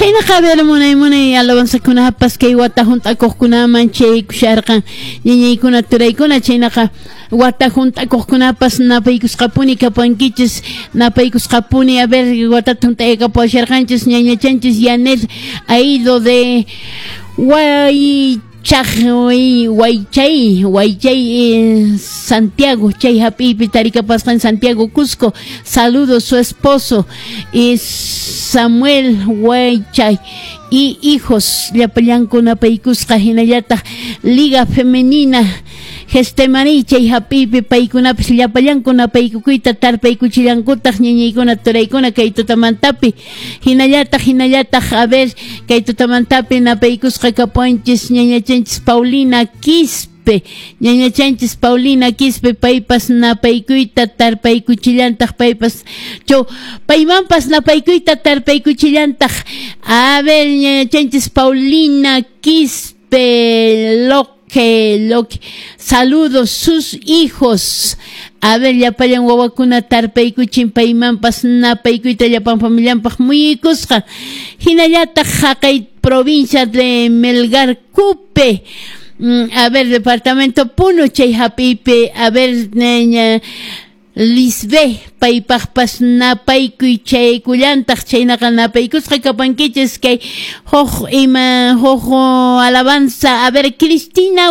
Chaynaqa, a ver, munay munay alabanzakunapas kay wata hunt'akuqkunaman chaykusharqan, ñañaykuna, turaykuna. Chaynaqa wata hunt'akuqkunapas napaykusqapuni kapankichis, napaykusqapuni. A ver, watata hunt'aykapuwasharqanchis ñañachanchis Yanel Aido de Waychay, Santiago, chay hap'iypi tarikapasqan Santiago, Cusco. Saludos su esposo y Samuel Waychay y hijos, llapallanku napaykusqa. Hinallataq Liga Femenina Getsemaní chay hap'iypi paykunapas llapallanku napaykukuyta tarpaykuchillankutaq, ñañaykuna, turaykuna, kay tutamantapi. Hinallataq, a ver, kay tutamantapi napaykusqa kapuanchis ñañachanchis Paulina Quispe, ñañachanchis Paulina Quispe, paypas napaykuyta tarpaykuchillantaq, paypas cho paymanpas napaykuyta tarpaykuchillantaq. A ver, ñañachanchis Paulina Quispe Loque, saludos sus hijos. A ver, llapallan wawakuna tarpaykuchin, paymanpas napaykuyta llapan familianpaq muyuykusqa. Hinallataq haqay provincia de Melgar Cupe, a ver, departamento Puno chay hap'iypi, a ver, ña Lisbe paypaqpas napaykuy chaykullantaq. Chaynaqa napaykusqa kapankichis. Kay huk ima huk alabanza, a ver, Cristina.